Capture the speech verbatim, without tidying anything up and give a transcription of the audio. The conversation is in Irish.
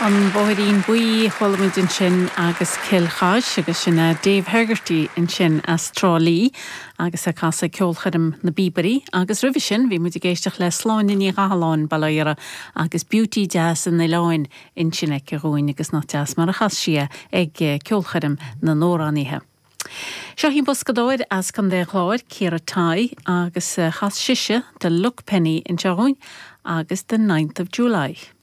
An Bóithrín Buí chuala muid ansin agus Cill Chais agus sin é Dave Hegarty ansin as Trá Lí agus ag casadh ceolchoirm na bPíobairí agus roimhe sin bhí muid ag éisteacht le Sláine Ní Chathalláin Baile Iara agus Beauty Deas an Oileáin ansin aici dhúinn agus nach deas mar a chas sí é ag ceolchoirm na n-amhránaithe. Seo í boscadóir as Contae an Chláir Ciara Tighe agus chas sise The Luck Penny anseo dhúinn agus the ninth of July.